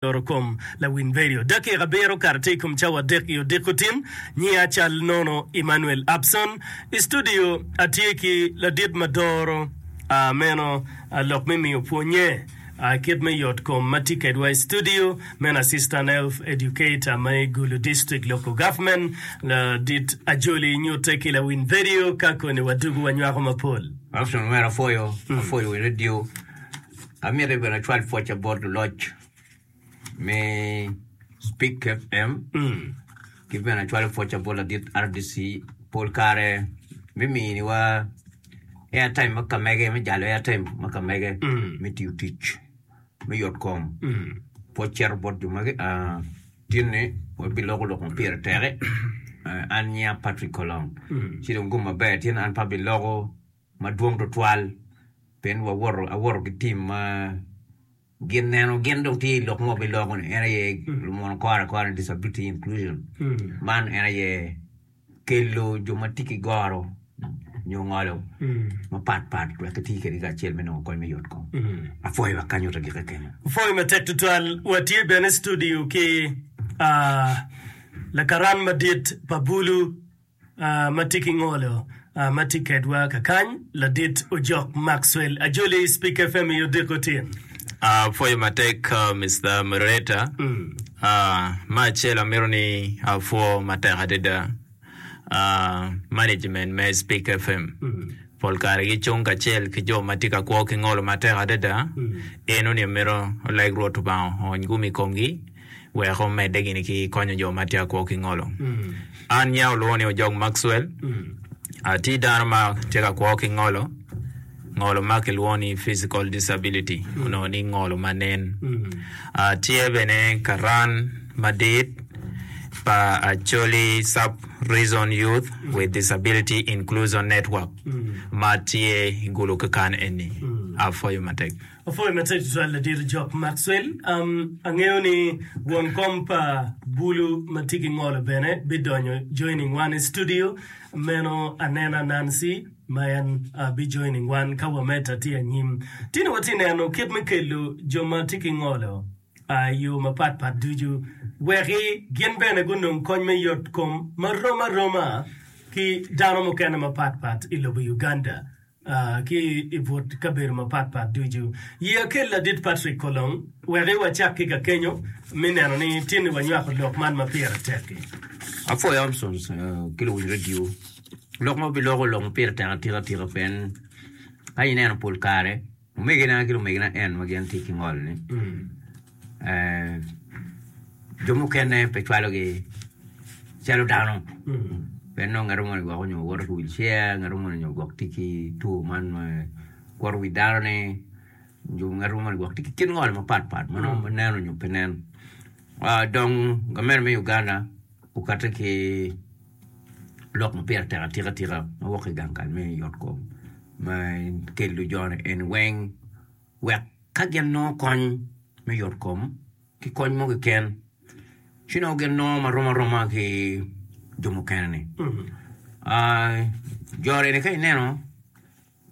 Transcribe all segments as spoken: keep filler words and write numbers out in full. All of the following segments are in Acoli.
Yoro kom lawiny vedio. Dakika abiro okato tye i kom cawa adek i odiko tin. Nyinga cal nono Emmanuel Abson. I studio atye ki ladit ma doro meno lok me miyo pwonye kit me yot kom ma tye kedwa i studio meno Assistant Health Educator ma i Gulu District Local Government ladit Ajoli nyute ki lawiny vedio ka koni wadugu wanywako mapol. Abson omera apwoyo, apwoyo wi radio. Amito bene acwal pwocca bot luloc me Speak FM ki bene acwalo pwocca bot ladit RDC pol kare me miniwa airtime ma ka mege me jalo airtime ma ka mege me tiyo tic me yot kom pwoc cito bot jo magi tinni wabiloko lok ma pire tek an nyinga Patrick Kolong ci dong gum maber tin an pe abiloko madwong tutwal pien wawoto awoto ki tim ma gin neno gin dong tye i lok ma wabiloko ni en aye lumwono kore akora ni disability inclusion man en aye kelo jo ma tye ki goro nyo ngolo mapat pat wek giti kwede kacel me nongo kony me yot kom apwoyo wa kany ota gike kenyo. Pwoyo matek tutwal. Watye bene i studio ki lakaran madit pa bulu ma tye ki ngolo ma tye kedwa kakany, Ladit Ojok Maxwell Ajoli, Speak FM i odiko tin. Apwoyo matek Mister Moderator. Me acel amito ni apwo matek adada management me Speak FM. Pol kare gicung kacel ki jo ma tye ka kwo ki ngolo matek adada. Enoni amito oleg Rwot Lubanga oony gum i komgi. Wek omedde gini ki konyo jo ma tye ka kwo ki ngolo. An nya olwongo ni Ojok Maxwell. Atye dano ma tye ka kwo ki ngolo, ngolo ma kilwongo ni physical disability, onongo ni ngolo ma nen. Atye bene karan madit pa Acholi Sub Region Youth with Disability Inclusion Network ma tye i Gulu kakan eni. Apwoyo matek. Apwoyo matek tutwal ladit Ojok Maxwell. Um, angeyo ni won kom pa bulu ma tye ki ngolo bene bidonyo joining wan i studio. Meno anena Nancy ma en uh, bi joining wan ka wamedde tye anyim. Tini watye neno kit me kelo jo ma tye ki ngolo uh, i yo mapat pat ducu weki gin bene gunong kony me yot kom marom aroma ki dano mukene mapat pat i lobo Uganda. Ki i but kabedo mapatpat ducu. Ye akel Ladit Patrick Kolong wek i wacak ki kakenyo me neno ni tinni wanywako lok man ma pire tek-ki. Apwoyo Armstrong ki luwiny redio. Lok ma wabiloko lok ma pire tek atika atika pien ka ineno pol kare omegina ki lumegina en ma gin tye ki ngol-ni Jo mukene pe cwalogi calo dano pien nongo ngat moni gwoko nyo woto ki wilcair ngat moni nyo gwok tye ki two man ma kwoto wi dano-ni nyo ngat moni gwok tye ki kit ngolo mapat pat ma nongo nen nyo pe nen dong gamente me Uganda okati ki lok ma pire tek atika tika ma wok ki i gang kal me yot kom me kelo joni eni weng wek ka gin nongo kony me yotkom ki kony mo keken, ci nongo gin nongo marom aroma ki jo mukene-ni. Jo-ni ka ineno,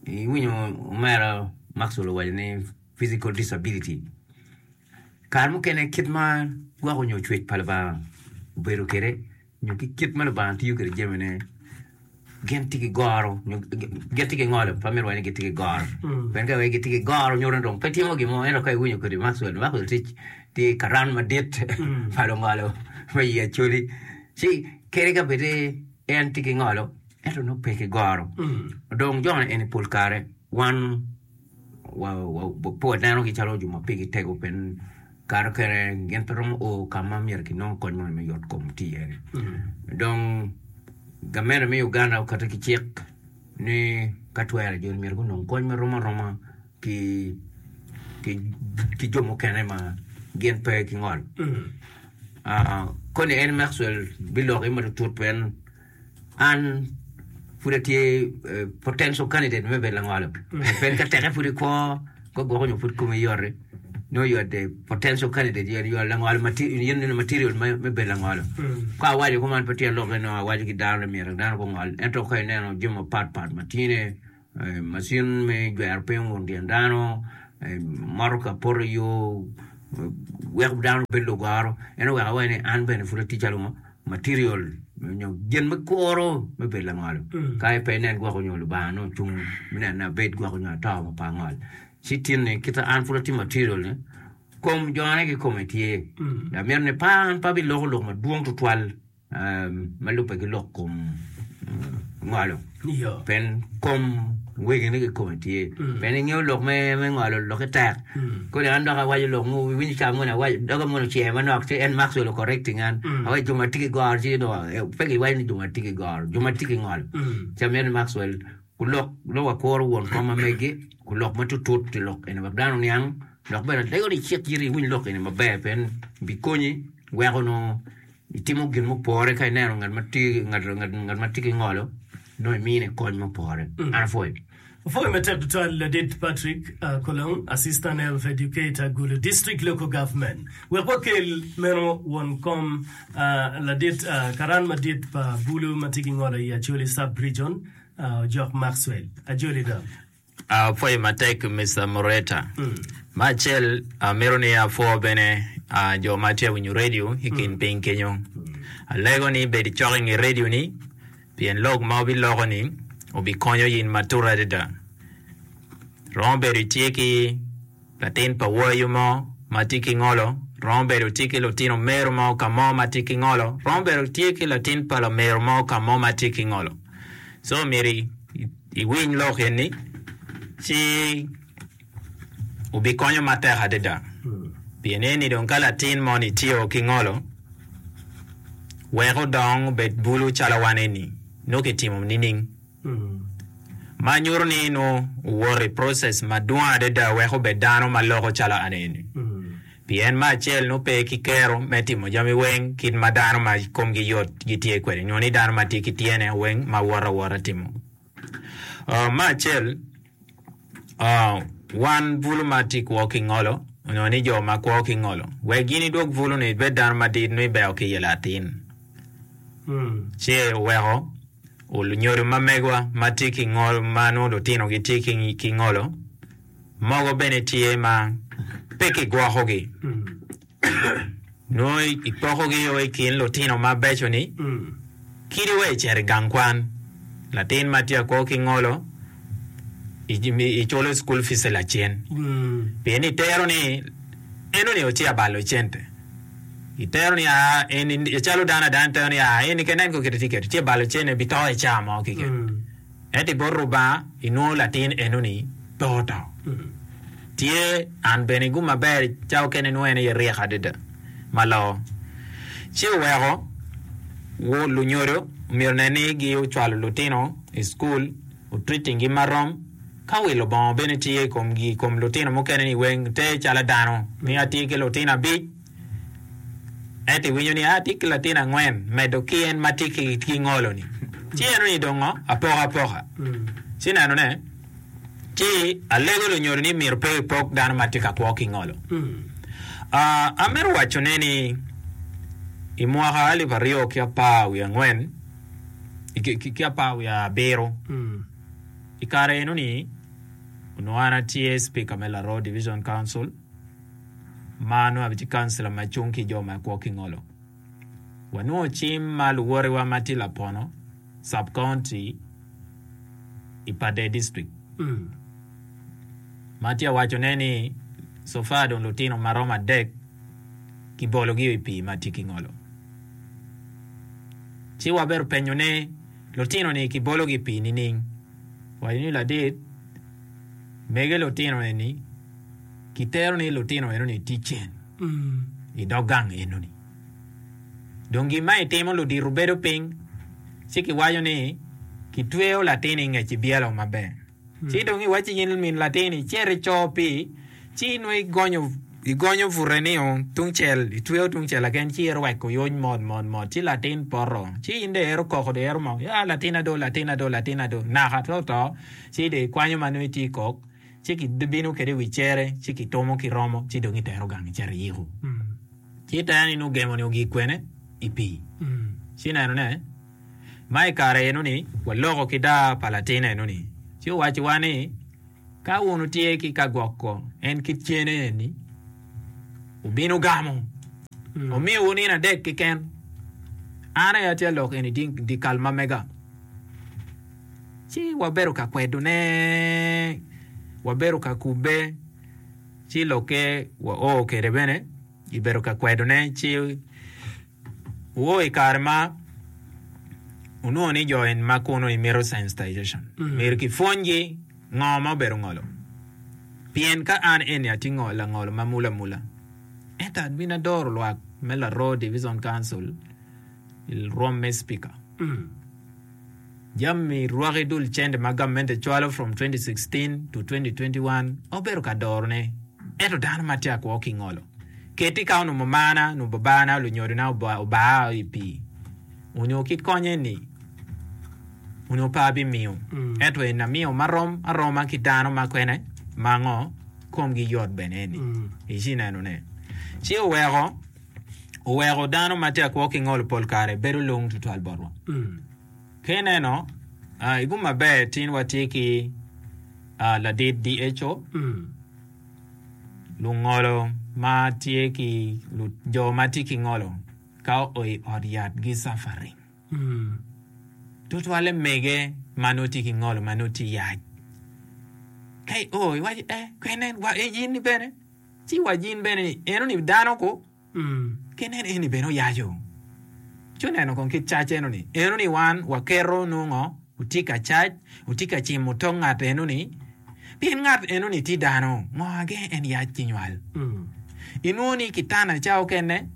iwinyo omera Maxwell owaco ni physical disability, kare mukene kit ma gwoko nyo cwec pa Lubanga obedo kwede nyo ki kit ma Lubanga tiyo kwede jamine, gin tye ki goro nyo gin tye ki ngolo pe amito waco ni gitye ki goro pien ka iwaco gitye ki goro nyuto ni dong pe timo gin mo ento ka iwinyo kodi Maxwell Maxwell tye tye karan madit pa lungolo me i Acholi ci kadi ka bed ni en tye ki ngolo ento nongo pe ki goro dong joni eni pol kare wan pe wanenogi calo jo ma pigi tego pien kare mukene gin pe romo o ka ma myero kinong kony moni me yot kom tye iye-ni. Dong gamente me Uganda oketo ki cik ni ka twere joni myero gunong kony ma rom aroma ki ki jo mukene ma gin pe ki ngol. Koni en Maxwell biloki matutut pien An pud atye potential candidate me bedo langolo pien ka teke pud ikwo ka gwoko nyo pud komi yot-ti nongo you are the potential candidate you are langolo in material me bedo langolo. Ka awaco kuman pe tyen lok ni nongo awaco ki dano ni myero dano gungol ento ka ineno jami mapat pat ma tye-ni macin me jwero piny ongun tyen dano, motoka poto i yo, Weko dano bedo lugoro en oweko awaco ni an bene pud atye calo ngo material nyo gin me kuro me bedo langolo. Ka pe inen gwoko nyo Lubanga nongo ocung me neno ni abed gwoko nyo ato ma pe angol. Ci tin-ni kit an pud atye material ni kom jone kikome tye. Amito ni pe an pe abiloko lok madwong tutwal ma lubbe ki lok kom ngolo pien kom wegine kikome tye pien ingeyo lok me ngolo lokke tek kodi an dok awaco lok mo iwinyo ca moni awaco doga moni ocer manok ci en Maxwell o correcting an awaco jo ma tye ki goro ci pe giwaco ni jo ma tye ki goro jo ma tye ki ngolo ci amito ni Maxwell kulok nongo wakuro won kom ma megi kulok matutut i lok eni wek dano oniang dok bene alego ni icik iti iwiny lok eni maber pien bikonyi weko nongo itimo gin mupore ka ineno ngat ma tye ngat ma tye ki ngolo nongo imine kony mupore. An apwoyo. Apwoyo matek tutwal Ladit Patrick Kolong, Assistant Health Educator, Gulu District Local Government. Wek wakel meno won kom Ladit karan madit pa bulu ma tye ki ngolo i Acholi Sub Region, Ojok Maxwell. Ajoli dong. Apwoyo matek Mister Mureta. Me acel, amito ni apwo bene jo ma tye ka winyo redio i kin piny kenyo. Alego ni ibed cok i nge redio-ni pien lok ma wubiloko-ni obikonyo in matut adada. Romo bedo itye ki latin pa wayo mo ma tye ki ngolo, romo bedo tye ki lutino mero mo ka mo ma tye ki ngolo, romo bedo tye ki latin pa lamero mo ka mo ma tye ki ngolo. So myero iwiny lok eni ci obikonyo matek adada. Pien eni dong ka latin moni tye ki ngolo, wek odong obed bulu calo wan eni, nongo kitimo nining? Ma nyuto ni nongo owoto i process madwong adada wek obed dano ma loko calo an eni. Pien me acel nongo pe ki kero me timo jami weng kit ma dano ma komgi yot gitye kwede nyo ni dano ma tye ki tyene weng ma woto awota timo. Me acel, wan bulu ma tye kwo ki ngolo nyo ni jo ma kwo ki ngolo wek gin idwog bulu-ni ibed dano madit nongo ibeo ki iye latin. Ci oweko lunyodo ma megwa ma tye ki ngolo ma nongo lutinogi tye ki ngolo mogo bene tye ma pe kigwokogi. Nongo ipokogi o i kin lutino mabeco-ni kadi wa icito i gang kwan. Latin ma tye akwo ki ngolo iculo cukul fice lacen pien itero ni enoni ocito abalo cente. Itero ni aa eni calo dano adana itero ni aa eni keken nen kite tye kwede tye balo cente bito i caa mo keken. Ento i bot Rubanga inwongo latin enoni pe oto. Tye an bene gum maber ca okene nongo en aye ryek adada ma loo. Ci oweko lunyodo myero onen ni gi ocwalo lutino i cukul otreating gi marom ka wilo bongo bene tye i komgi i kom lutino mukene ni weng te calo dano ni atye ki lutino abic ento iwinyo ni atye ki latin angwen medo ki en ma tye ki ngolo ni ci eno ni dong ngo apoka apoka ci neno ne ci alego lunyodo ni myero pe ipok dano ma tye ka kwo ki ngolo. Amito waco ne ni i mwaka alip aryo ki apar wiye angwen ki apar wiye abiro i kare eno ni onongo an atye speaker me Laroo Division Council ma nongo atye councilor ma cung ki jo ma kwo ki ngolo. Wanongo cim ma luwotewa ma tye Lapono sub county i Pader district ma tye ka wacone ni so far dong lutino ma romo adek kibologi i pii ma tye ki ngolo. Ci wabedo penyo ni lutino-ni kibologi i pii nining? Waco ni ladit mege lutino eni kitero ni lutino enoni tye cen i dog gang enoni. Dong gin ma itimo ludito bedo piny ci kiwaco ni kitweyo latin i ngec ibyelo maber. Ci dong iwacci in min latin icit ico pii ci nongo igonyo igonyo bute nio tungcel itweyo tungcel laken ci irweko yony mot mot mot ci latin poto ci in dong ero koko dong ero moko ya latina do latina do latina do naka to oto ci dong ikwanyo ma nongo itye kok ci kibino kwede i wi cere ci kitumo ki romo ci dong itero gang icito iyiko. Ci iteno ni nongo gemo-ni ogik kwene i pii. Ci ineno ne, ma i kare eno-ni waloko ki daa pa latin eno-ni, ci owacciwa ni, Ka wun wutye ki ka gwoko en kit cene eni, Obino gamo. Omiyowu nino adek keken. An aye atye lok eni di kal ma mega. Ci wabedo ka kwedone, wabedo ka kubbe, ci lokke wao kwede bene, ibedo ka kwedone ci oo i kare ma onongo ni jo eni ma kunu mito sensitization. Myero kipwonygi ngo ma obedo ngolo. Pien ka an eni atye langolo ma mula amula, ento abino adoro lwak me Laroo Division Council i rwom me speaker. Jami rwaki dul cente ma gavment cwalo from twenty sixteen to twenty twenty one obedo ka dorone ento dano ma tye akwo ki ngolo. Keti ka onongo mamana nyo babana lunyodona obaa i pii onyo kit konye ni onongo pe abimiyo ento en amiyo marom aroma ki dano ma kwene ma ngo komgi yot bene eni ici nenone ci oweko oweko dano ma tye akwo ki ngolo pol kare bedo lung tutwal botwa. Ka ineno i gum maber tin watye ki ladit D H O lungolo ma tye ki jo ma tye ki ngolo ka oo i ot yat gi suffering tutwalle mege ma nongo tye ki ngolo ma nongo tye yac ka i o iwaco eh kwene wa in ni bene ci wa in bene ni eno ni dano ku Ki nen eni bene oyaco. Ci oneno kong kit cac eno ni. Eno ni wan waketo nongo otye ka cac, otye ka cimo tok ngat eno ni, pien ngat eno ni tye dano, ngo age en yac ki nywal. Inwongo ni kitana ca okene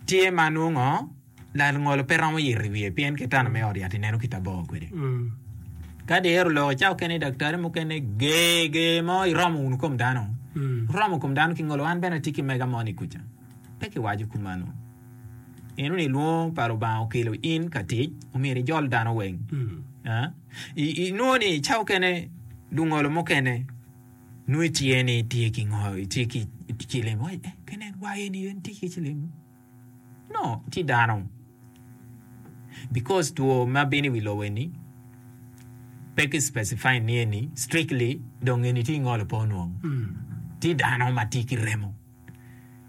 tye ma nongo langolo pe romo yito i wiye pien kitana me ot yat ineno kit abor kwede. Ka dyero lok i ca okene daktari mukene ger ger mo iromo wunu kom dano. Romo kom dano ki ngolo an bene atye ki mega mo ni kuca. Pe kiwaco kumano. Eno ni lwongo pa Lubanga okelo in ka tic, omyero ijol dano weng. Inwongo ni ca okene lungolo mukene nongo itye ni tye ki ngo, tye ki cilim. Kene wa eni en tye ki cilim. No, tye dano. Because two ma bino i wi lobo eni pe ki specify ni eni strictly dong eni tye ingolo pe onwongo. Tye dano ma tye ki remo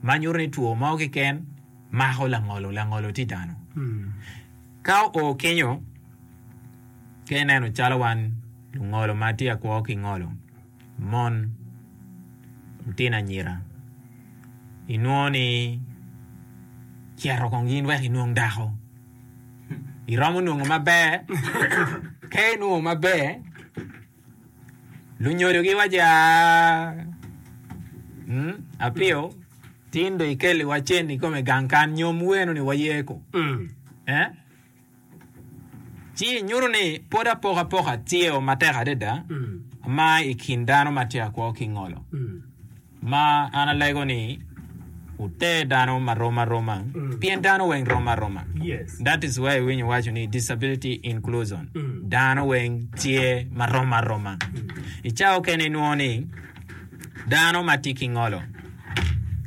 ma nyuto ni two mo keken mako langolo, langolo tye dano. Ka oo kenyo ka ineno calo wan lungolo ma tye akwo ki ngolo, mon, lutino anyira, inwongo ni cito kong in wek inwong dako. Iromo nongo maber, ka inwongo maber, lunyodo giwaco aa apio tin dong ikeliwa cen ikome gang kan nyomwu eno ni waye ko. Eh? Ci nyuto ni pwod apokapoka tye matek adada ma i kin dano ma tye akwo ki ngolo. Ma an alego ni wuter dano ma rom aroma pien dano weng rom aroma. That is why iwinyo waco ni disability inclusion. Dano weng tye ma rom aroma. I cawa okene inwongo ni dano ma tye ki ngolo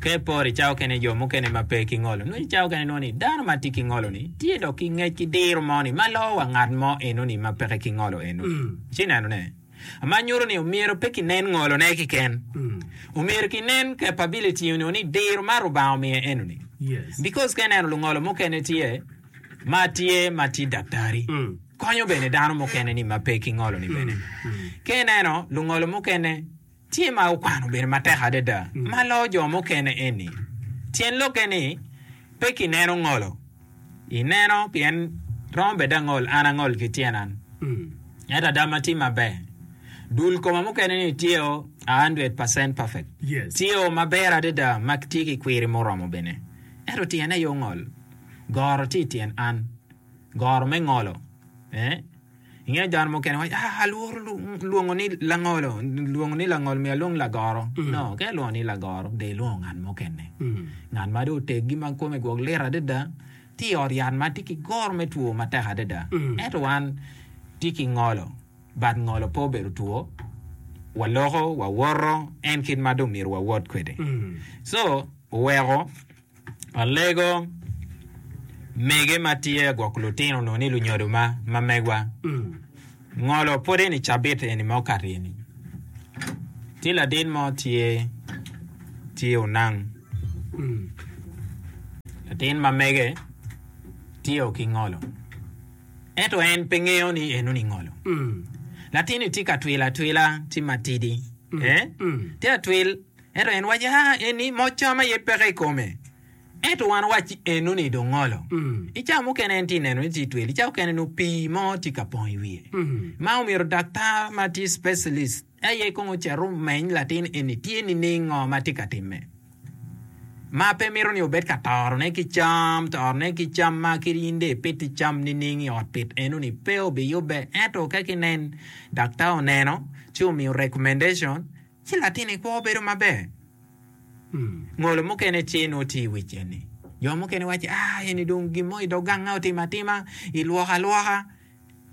ka iporo i cawa okene jo mukene ma pe ki ngolo nongo i cawa okene inwongo ni dano ma tye ki ngolo ni tye dok ki ngec ki diro mo ni ma loo wa ngat mo eno ni ma peke ki ngolo eno. Ci ineno ne ma nyuto ni omyero pe kinen ngolo ne keken omyero kinen capability onyo ni diro ma Rubanga omiye eno ni because ka ineno lungolo mukene tye ma tye ma tye daktari konyo bene dano mukene ni ma pe ki ngolo ni bene ka ineno lungolo mukene tye ma okwano bene matek adada ma loo jo mukene eni tyen lokke ni pe kineno ngolo ineno pien romo bed angol an angol ki tyen an ento ada ma tye maber dul koma mukene ni tye o a hundred percent perfect tye o maber adada ma tye ki kwiri muromo bene ento tyene aye ongol goro tye i tyen an goro me ngolo eh Ingeyo dano mukene waco, ah, alworo lwongo ni langolo, lwongo ni langolo myero alwong lagoro. No, ka ilwongo ni lagoro, dong ilwongo ngat mukene. Ngat ma dong oteggi ma kome gwok lit adada, tye i ot yat ma tye ki goro me two matek adada. Ento wan tye ki ngolo, but ngolo pe obedo two. Waloko, wawoto, en kit ma dong myero wawot kwede. So, oweko Alego mege ma tye gwoko lutino onongo ni lunyodo ma ma megwa ngolo pwod eni cabit eni ma okato eni tye ladit mo tye tye onang Latin ma mege tye ki ngolo. Ento en pe ngeyo ni enoni ngolo. Latin-ni tye ka twilo atwila tye matidi. Eh? Tye atwil ento en waco ah eni moc cam aye peke i kome. Ento wan wacci enoni dong ngolo. I cawa mukene en tye neno ni tye twil, i cawa mukene nongo pii mo tye ka pong i wiye. Ma omyero daktar ma tye specialist aye kong ocit omeny latin eni tye nining ngo ma tye ka timme. Ma pe mito ni obed ka torone ki cam, torone ki cam ma kadi in dong ipiti cam nining i ot pit enoni pe obiyubbe. Ento ka kinen daktar oneno ci omiyo recommendation ci latin-ni kwo bedo maber. Ngolo mukene tye nongo tye i wic eni. Jo mukene waco ah eni dong gin mo i dog ganga otimo atima ilwoko alwoka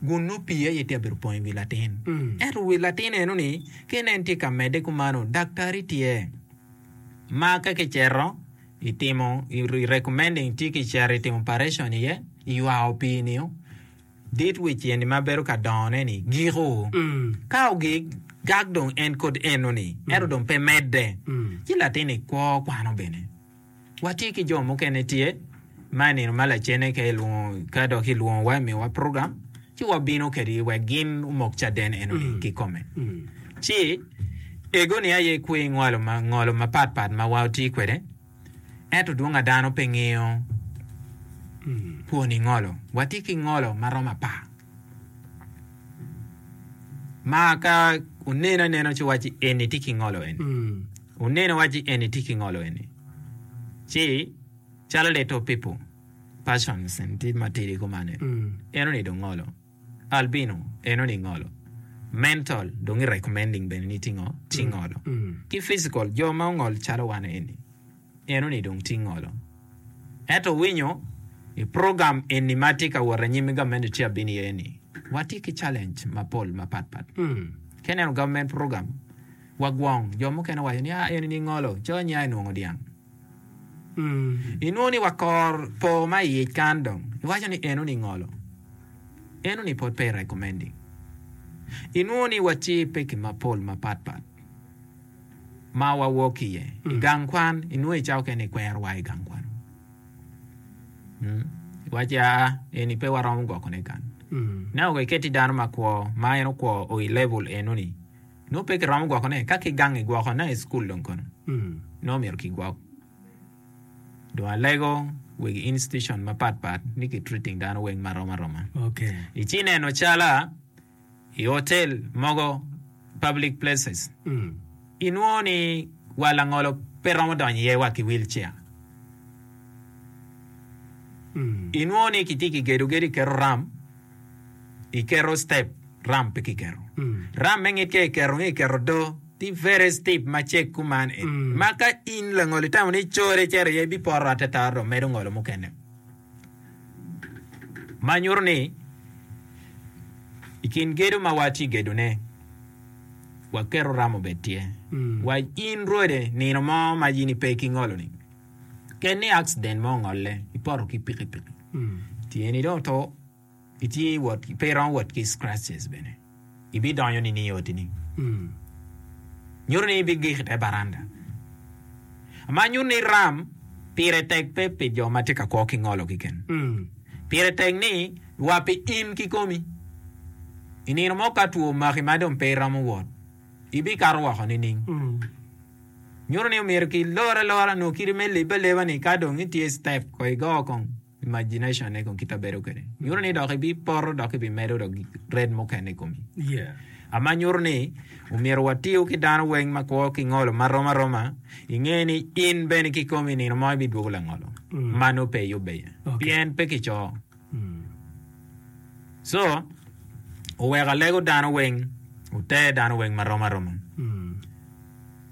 gun nongo pii aye tye ka bedo pong i wi latin. Ento wi latin enoni ka inen tye ka medde kumano daktari tye ma ka kicito itimo i recommending tye kicito itimo operation iye iywako pii-ni dit wic eni ma bedo ka dongone-ni giko. Ka ogik gak dong en kod enoni ento dong pe medde ci latin-ni kwo kwano bene. Watye ki jo mukene tye ma i nino ma lacene ka ilwongo ka dok ilwongowa imiyowa program ci wabino kwedgi wek gin omok caden enoni kikome. Ci egoni aye kwer ngolo ma ngolo mapat pat ma watye kwede ento dwong a dano pe ngeyo kwoni ngolo. Watye ki ngolo ma romo apar ma ka oneno anena ci wacci eni tye ki ngolo eni oneno wacci eni tye ki ngolo eni ci calo little people persons en tye matidi kuman enoni dong ngolo albino enoni ngolo mental dong i recommending bene ni tye ngo tye ngolo ki physical jo ma ongol calo wan eni enoni dong tye ngolo ento winyo i program eni ma tye ka wot anyim i gavment tye abino iye ni watye ki challenge mapol mapatpat ka ineno government program wagwong jo mukene waco ni ah eni ni ngolo co nya inwongo dyang inwongo ni wakor po ma i ic kan dong iwaco ni enoni ngolo enoni pod pe i recommending inwongo ni watye i peki mapol mapatpat ma wawok iye i gang kwan inwongo i cawa okene ikwerowa i gang kwan iwaci aa eni pe waromo gwokone kany neno iketi dano makwo ma en okwo o i level enoni nongo pe kiromo gwokone ka ki gang igwoko ne i cukul dong kono nongo myero kigwok dong alego wegi institution mapatpat ni ki treating dano weng marom aroma Okay. ici neno cala i hotel mogo public places inwongo ni wa langolo pe romo donyo iye wa ki wheelchair inwongo ni kitye kigedo gedo iketo ramp iketo step ramp pe kiketo ramp me ngit ka iketo nge iketo do tye very steep macek kuman eni ma ka in langolo itamo ni core icito iye ibipoto atata dong medo ngolo mukene ma nyuto ni i kin gedo ma watye gedone waketo ramp obed tye wa in rwode nino mo ma in ipe ki ngolo-ni ken ni accident mo ongolle ipoto ki pikipiki tyeni dong oto itye wot pe iromo wot ki scratches bene ibidonyo nining i oti-ni nyuto ni ibigik i te baranda ma nyuto ni ram pire tek pe pi jo ma tye ka kwo ki ngolo keken pire tek ni wa pi in kikomi i nino mo ka two omaki ma dong pe iromo wot ibikato woko nining nyuto ni omyero kilor alora nyo kite me lebbe aleba ni ka dong itye step ko igo kong imagination ne kong kite bedo kwede nyuto ni dok ibipoto dok ibimedo dok red mukene i komi Yeah. ama nyuto ni omyero watiyo ki dano weng ma kwo ki ngolo marom aroma inge ni in bene kikomi nino mo ibidwogo langolo ma nongo pe iyubbe iye Okay. pien pe kico so oweko alego dano weng oter dano weng marom aroma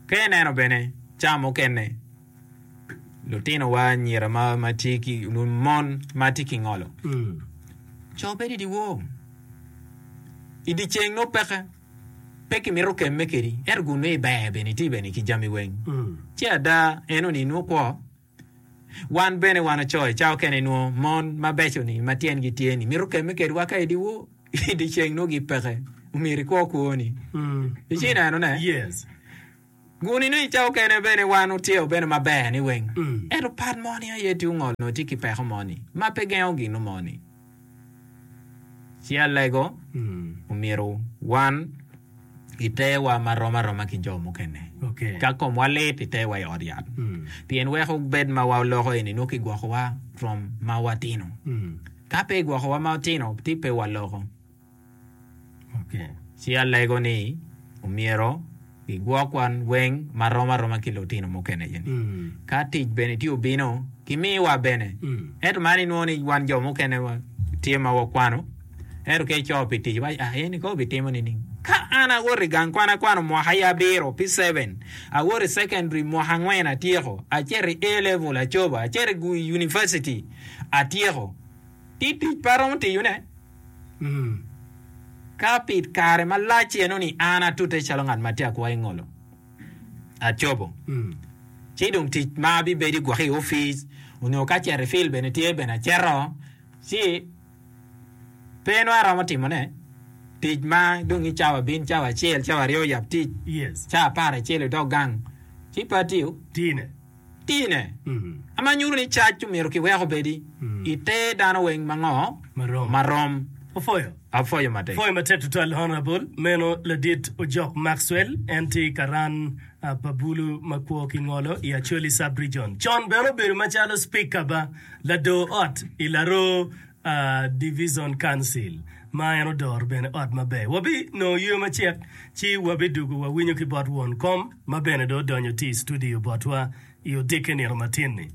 ka ineno bene ca mukene lutinowa anyira ma, ma tye ki mon ma tye ki ngolo co bedo i dyewor i dyeceng nongo peke pe kimito kemme kedi ento gun nongo iber bene itye bene ki jami weng ci ada enoni nongo kwo wan bene wan oco i cawa okene inwongo mon mabeco-ni ma tyengi tye ni mito kemme kedwa ka i dyewor i dyeceng nongo gipeke omyero ikwo kwoni ici ineno ne Yes. Guni nongo i cawa okene bene wan otye bene maber ni weng. Ento pat mo ni aye tye ongol nongo tye ki peko mo ni ma pe gengo gino mo ni. Ci alego omyero wan iterwa marom aroma ki jo mukene. Ka komwa lit iterwa i ot yat. Pien weko bed ma waloko eni nongo kigwokowa from ma watino. Ka pe igwokowa ma watino ti pe waloko. Ci alego ni omyero gigwok wan weng marom aroma ki lutino mukene eni. Ka tic bene tye obino, kimiwa bene. Ento man inwongo ni wan jo mukene tye ma wakwano, ento ka ico pi tic iwaco ah eni kono obitimo nining? Ka an awoto i gang kwan akwano mwaka aye abiro pi seven, awoto i secondary mwaka angwen atyeko, acito i A level acobo, acito i university atyeko, ti tic pe aromo tiyone. Ka pi kare malac eno-ni an atute calo ngat ma tye akwo i ngolo, acobo, ci dong tic ma abibedo i gwoki i opic onyo ka cito i fil bene tye bene acito, ci pe nongo aromo timone tic ma dong i cawa bin cawa acel cawa aryo yab tic cawa apar acel idok gang ci pe atiyo. Tine, ma nyuto ni cac omyero kiwek obedi i te dano weng ma ngo? Marom. Opwoyo. Apwoyo matek. Pwoyo matek tutwal Honourable. Meno ladit Ojok Maxwell, en tye karan pa bulu ma kwo ki ngolo i Acholi Sub Region. Con bene obedo macalo Speaker ba lador ot i Laroo Divison Council ma en odoro bene ot maber. Wabi nongo yweyo macek ci wabi dugo wa winyo ki bot won kom ma bene dong odonyo tye i studio botwa i odiki nino matin ni.